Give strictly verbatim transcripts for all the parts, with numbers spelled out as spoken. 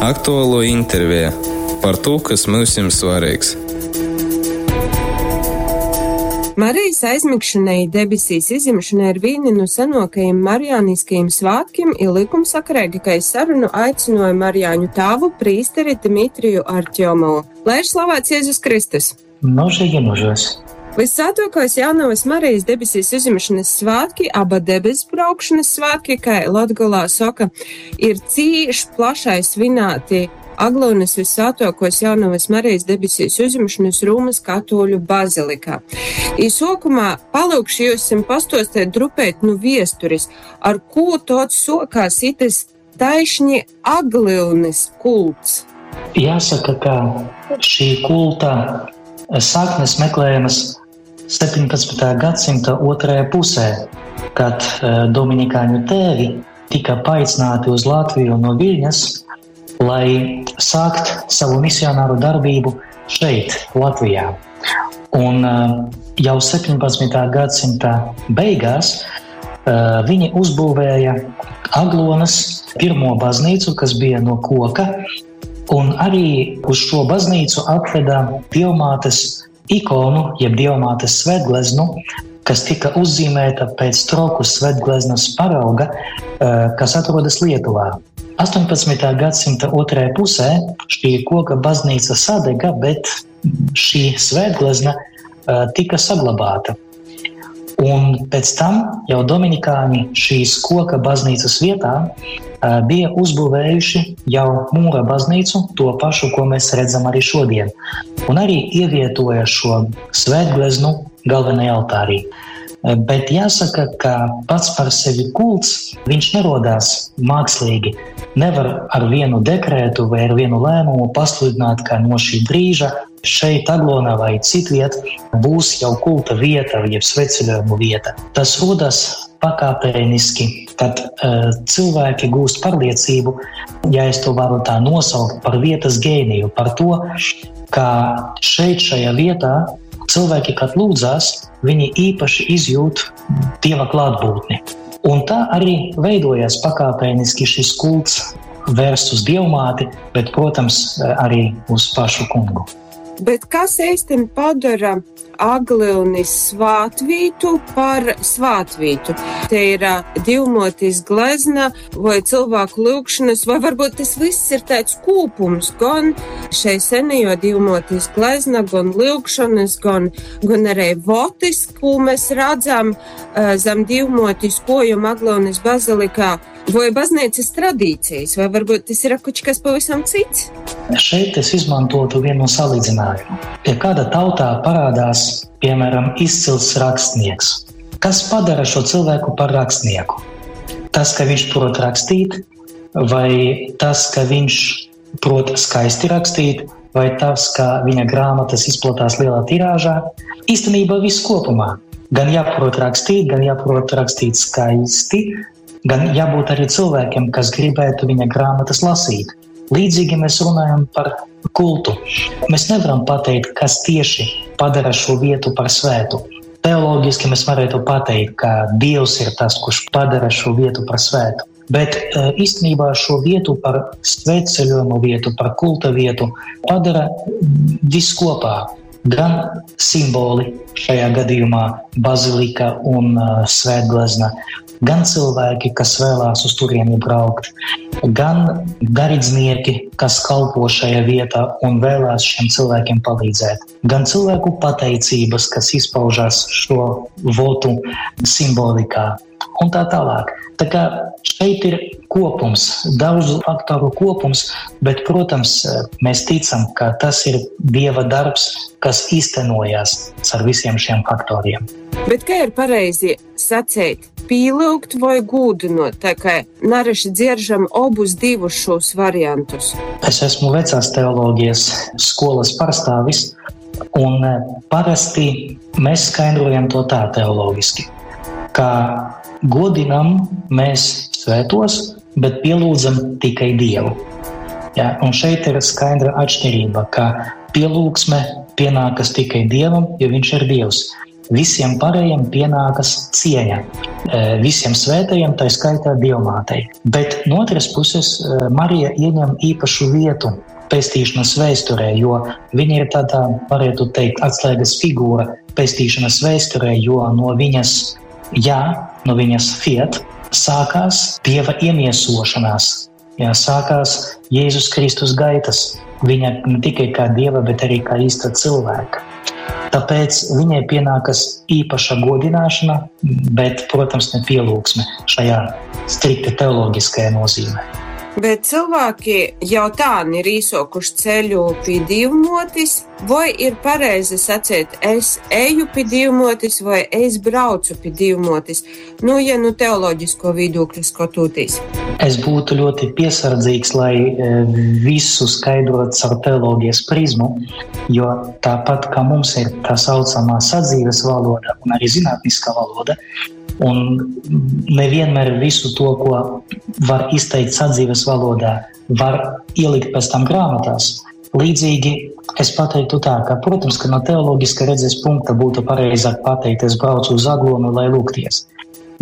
Aktuālo intervija par to, kas mums svarīgs. Marijas aizmigšana i debesīs izjimšana ir vīni nu senokajim marijāniskajim svātkim i lykumsakaregi, kai sarunu aicynoju Marijāņu tāvu prīsteri Dmitriju Artjomovu. Lai ir slavēts Jēzus Kristus! Mūžīgi mūžos! Vissvētākais Jaunavas Marijas debesīs uzņemšanas svētki, aba debesbraukšanas svētki, kā Latgolā saka, ir cīši plašai svinēti Aglonas Vissvētākos Jaunavas Marijas debesīs uzņemšanas Rūmas katoļu bazilikā. Īsokumā palūkšu jūsim pastostēt drupēt nu viesturis, ar ko tots sokās itis taišņi Aglilnis kults. Jāsaka, ka šī kulta saknes meklējamas septiņpadsmitā gadsimta otrajā pusē, kad, eh, Dominikāņu tēvi tika paaicināti uz Latviju no Viļņas, lai sākt savu misionāru darbību šeit, Latvijā. Un, eh, jau septiņpadsmitā gadsimta beigās, eh, viņi uzbūvēja Aglonas pirmo baznīcu, kas bija no koka, un arī uz šo baznīcu atveda Dievmātes ikonu, jeb Dievmātes svētgleznu, kas tika uzzīmēta pēc Troku svētgleznas parauga, eh, kas atrodas Lietuvā. astoņpadsmitā gadsimta otrajā pusē šī koka baznīca sadega, bet šī svētglezna, eh, tika saglabāta. Un pēc tam jau Dominikāņi šīs koka baznīcas vietā, eh, bija uzbūvējuši jau mūra baznīcu, to pašu, ko mēs redzam arī šodien. Un arī ievietoja šo svētgleznu galvenajā altārī. Eh, bet jāsaka, ka pats par sevi kults, viņš nerodās mākslīgi. Nevar ar vienu dekrētu vai ar vienu lēmumu pasludināt, ka no šī brīža šeit Aglonā vai citviet būs jau kulta vieta, jeb svētceļojumu vieta. Tas rodas pakāpeniski, kad, eh, cilvēki gūst pārliecību, ja es to varu tā nosaukt, par vietas gēniju, par to, ka šeit šajā vietā cilvēki, kad lūdzās, viņi īpaši izjūt Dieva klātbūtni. Un tā arī veidojās pakāpeniski šis kults vērsts uz Dievmāti, bet, protams, arī uz pašu kungu. Bet kas īsti padara Aglilnis svātvītu par svātvītu? Te ir, ā, divmotis glezna vai cilvēku lūgšanas, vai varbūt tas viss ir tāds kopums, gan šai senajo divmotis glezna, gan lūgšanas, gan, gan arī votis, ko mēs redzam, ā, zem divmotis kojuma Aglilnis bazilikā, vai baznīcas tradīcijas, vai varbūt tas ir kaut kas pavisam cits? Šeit es izmantotu vienu salīdzinājumu. Ja kāda tautā parādās, piemēram, izcils rakstnieks, kas padara šo cilvēku par rakstnieku? Tas, ka viņš prot rakstīt, vai tas, ka viņš prot skaisti rakstīt, vai tas, ka viņa grāmatas izplatās lielā tirāžā? Īstenībā viss kopumā. Gan jāprot rakstīt, gan jāprot rakstīt skaisti, gan jābūt arī cilvēkiem, kas gribētu viņa grāmatas lasīt. Līdzīgi mēs runājam par kultu. Mēs nevaram pateikt, kas tieši padara šo vietu par svētu. Teoloģiski mēs varētu pateikt, ka Dievs ir tas, kurš padara šo vietu par svētu. Bet, eh, īstenībā šo vietu par svētceļojumu vietu, par kulta vietu padara viss kopā. Gan simboli, šajā gadījumā bazilika un, eh, svētglezna, gan cilvēki, kas vēlās uz turieni braukt, gan garīdznieki, kas kalpo šajā vietā un vēlās šiem cilvēkiem palīdzēt, gan cilvēku pateicības, kas izpaužās šo votu simbolikā un tā tālāk. Tā kā šeit ir kopums, daudzu faktoru kopums, bet, protams, mēs ticam, ka tas ir Dieva darbs, kas īstenojās ar visiem šiem faktoriem. Bet kā ir pareizi sacīt, pīlūgt vai gūdinot, tā kā nareši dzieržam obus divus šos variantus? Es esmu vecās teoloģijas skolas pārstāvis, un, eh, parasti mēs skaidrojam to tā teoloģiski, ka godinam mēs svētos, bet pielūdzam tikai Dievu. Ja, un šeit ir skaidra atšķirība, ka pielūgsme pienākas tikai Dievam, jo viņš ir Dievs. Visiem pārējiem pienākas cieņa, e, visiem svētajiem, tai skaitā Dievmātei. Bet no otras puses e, Marija ieņem īpašu vietu pestīšanas vēsturē, jo viņa ir tādā, varētu teikt, atslēgas figūra pestīšanas vēsturē, jo no viņas jā, no viņas fiat sākās Dieva iemiesošanās, jā, sākās Jēzus Kristus gaitas. Viņa ne tikai kā Dieva, bet arī kā īsta cilvēka. Tāpēc viņai pienākas īpaša godināšana, bet, protams, ne pielūgsme šajā strikti teoloģiskajā nozīmē. Bet cilvēki jau tā ir īsokuši ceļu pie Dievmotis, vai ir pareizi sacīt, es eju pie Dievmotis vai es braucu pie Dievmotis? Nu, ja nu teoloģisko viedokļu skatoties. Es būtu ļoti piesardzīgs, lai e, visu skaidrot caur teoloģijas prizmu, jo tāpat kā mums ir tā saucamā sadzīves valoda un arī zinātniskā valoda, un nevienmēr visu to, ko var izteikt sadzīves valodā, var ielikt pēc tam grāmatās. Līdzīgi es pateiktu tā, ka, protams, ka no teoloģiska redzes punkta būtu pareizāk pateikt, es braucu uz Aglonu, lai lūgties.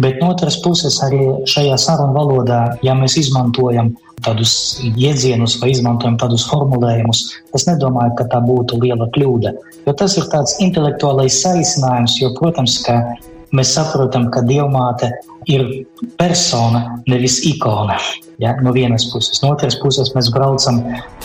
Bet no otras puses arī šajā sarunu valodā, ja mēs izmantojam tādus jēdzienus vai izmantojam tādus formulējumus, es nedomāju, ka tā būtu liela kļūda. Jo tas ir tāds intelektuālais saīsinājums, jo, protams, ka mēs saprotam, ka Dievmāte ir persona, nevis ikona. Ja, no vienas puses. No otras puses mēs braucam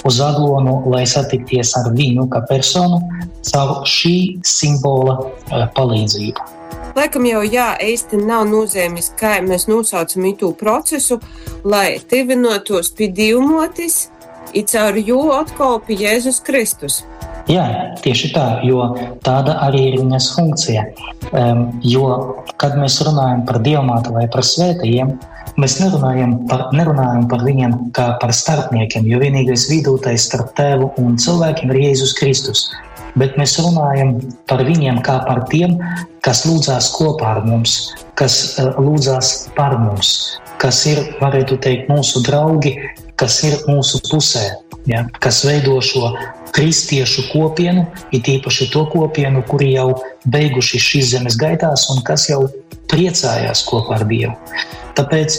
uz Aglonu, lai satikties ar viņu kā personu caur šī simbola eh, palīdzību. Laikam jau jā, īsti nav nozīmes, kā mēs nosaucam itū procesu, lai tivinotos pie Dievmotis, i caur jū atkal pie Jēzus Kristus. Jā, tieši tā, jo tāda arī ir viņas funkcija. Um, jo, kad mēs runājam par Dievmāti vai par svētajiem, mēs nerunājam par, nerunājam par viņiem kā par starpniekiem, jo vienīgais vidūtais starp tēvu un cilvēkiem ir Jēzus Kristus. Bet mēs runājam par viņiem kā par tiem, kas lūdzās kopā ar mums, kas uh, lūdzās par mums, kas ir, varētu teikt, mūsu draugi, kas ir mūsu pusē, ja, kas veido šo kristiešu kopienu, it īpaši to kopienu, kuri jau beiguši šīs zemes gaitās un kas jau priecājās kopā ar Dievu. Tāpēc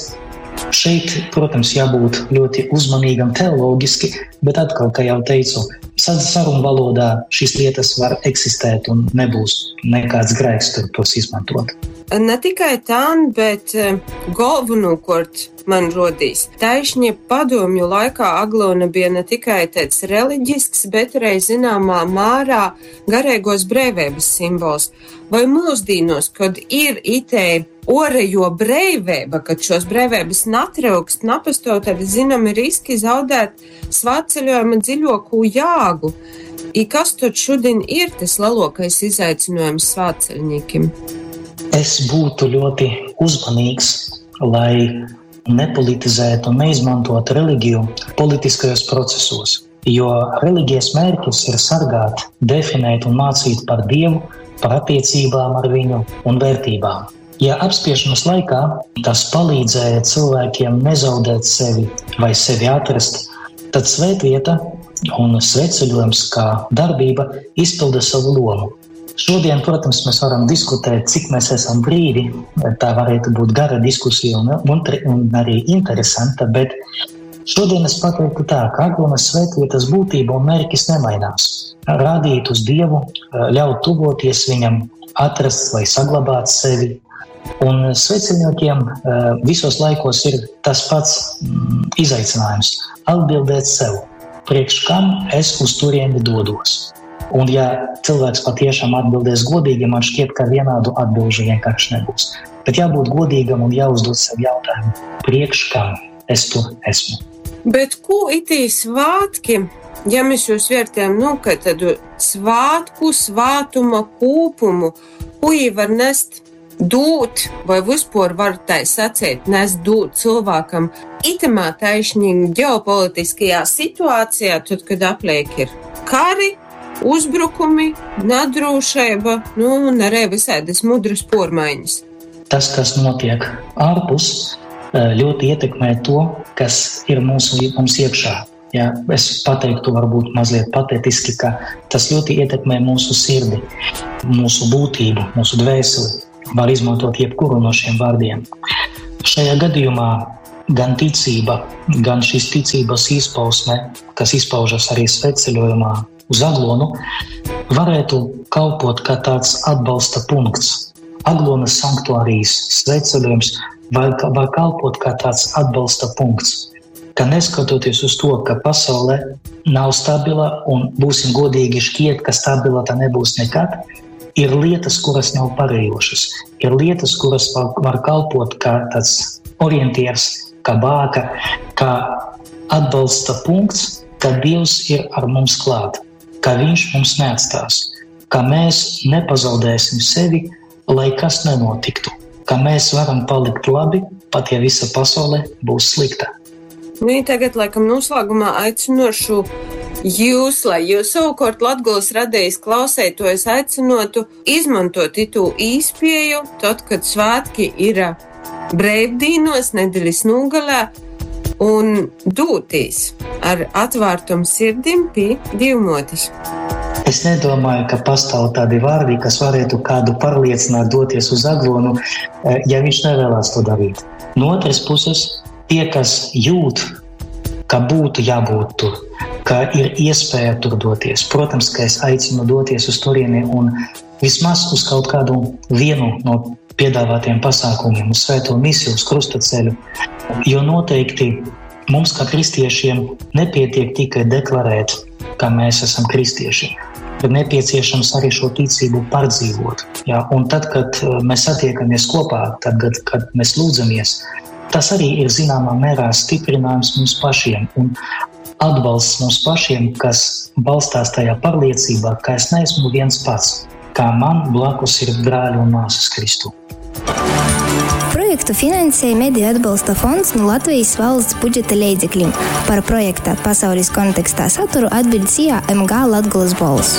šeit, protams, jābūt ļoti uzmanīgam teoloģiski, bet atkal, kā jau teicu, sarunu valodā šīs lietas var eksistēt un nebūs nekāds grēks tur tos izmantot. Ne tikai tā, bet eh, galvenokārt man rodīs. Taišņi padomju laikā Aglona bija ne tikai tāds reliģisks, bet arī zināmā mērā garīgos brīvības simbols. Vai mūsdīnos, kad ir itē orejo brīvība, kad šos brīvības natryukst, napastāv, tad zināmi riski zaudēt svētceļojuma dziļāko jāgu. I kas tad šodien ir tas lielākais izaicinājums svētceļniekiem? Es būtu ļoti uzmanīgs, lai nepolitizētu un neizmantotu reliģiju politiskajos procesos, jo reliģijas mērķis ir sargāt, definēt un mācīt par Dievu, par attiecībām ar viņu un vērtībām. Ja apspiešanas laikā tas palīdzēja cilvēkiem nezaudēt sevi vai sevi atrast, tad svētvieta un svētceļojums kā darbība izpilda savu lomu. Šodien, protams, mēs varam diskutēt, cik mēs esam brīvi. Tā varētu būt gara diskusija un, un, un arī interesanta, bet šodien es pateiktu tā, ka Aglonas svētvietas būtība un mērķis nemainās. Rādīt uz Dievu, ļaut tuvoties viņam, atrast vai saglabāt sevi. Un sveceļniekiem eh, visos laikos ir tas pats mm, izaicinājums - atbildēt sev, priekš kam es uz turieni dodos. Un ja cilvēks patiešām atbildēs godīgi, man šķiet, ka vienādu atbilžu vienkārši nebūs. Bet jābūt godīgam un jāuzdod sev jautājumu, priekš kam es tur esmu. Bet ko itī svātki, ja mēs jūs vērtējam, nu, ka tādu svātku, svātuma kūpumu, ko jī var nest dūt, vai vispār var tā sacīt, nest dūt cilvēkam itamā taišņi ģeopolitiskajā situācijā, tad, kad apliek ir kari, uzbrukumi, nedrošība, nu, un arī visādas mudras pormaiņas. Tas, kas notiek ārpus, eh, ļoti ietekmē to, kas ir mūsu, mums iekšā. Ja, es pateiktu varbūt mazliet patetiski, ka tas ļoti ietekmē mūsu sirdi, mūsu būtību, mūsu dvēseli. Var izmantot jebkuru no šiem vārdiem. Šajā gadījumā gan ticība, gan šīs ticības izpausme, kas izpaužas arī svētceļojumā uz Aglonu, varētu kalpot kā tāds atbalsta punkts. Aglonas sanktuārijas svētceļojums var, var kalpot kā tāds atbalsta punkts, ka neskatoties uz to, ka pasaule nav stabila un, būsim godīgi, šķiet, ka stabila tā nebūs nekad, ir lietas, kuras nav parejošas, ir lietas, kuras var, var kalpot kā tāds orientieris, kā bāka, kā atbalsta punkts, ka Dievs ir ar mums klāt, ka Viņš mums neatstās, ka mēs nepazaudēsim sevi, lai kas nenotiktu, ka mēs varam palikt labi, pat ja visa pasaule būs slikta. Nu, tagad, laikam, noslēgumā aicinošu jūs, lai jūs savukārt Latgulas radijas klausētojus aicinotu izmantot itu īspēju, tad, kad svētki ir breivdīnos, nedēļas nogalē, un dūtīs ar atvērtum sirdim pie Dievmotes. Es nedomāju, ka pastāv tādi vārdi, kas varētu kādu pārliecināt doties uz Aglonu, eh, ja viņš nevēlas to darīt. No otras puses, tie, kas jūt, ka būtu jābūt tur, ka ir iespēja tur doties. Protams, ka es aicinu doties uz turieni un vismaz uz kaut kādu vienu no piedāvātiem pasākumiem, uz svēto misiju, uz krustaceļu, jo noteikti mums kā kristiešiem nepietiek tikai deklarēt, ka mēs esam kristieši. Ir nepieciešams arī šo ticību pārdzīvot. Ja? Un tad, kad eh, mēs satiekamies kopā, tad, kad, kad mēs lūdzamies, tas arī ir zināmā mērā stiprinājums mums pašiem un atbalsts mums pašiem, kas balstās tajā pārliecībā, ka es neesmu viens pats, kā man blakus ir brāļi un māsas Kristu. Projektu finansēja Mediju atbalsta fonds no Latvijas valsts budžeta leidzekļiem. Par projekta pasaules kontekstā saturu atbild SIA M G Latgulas Bols.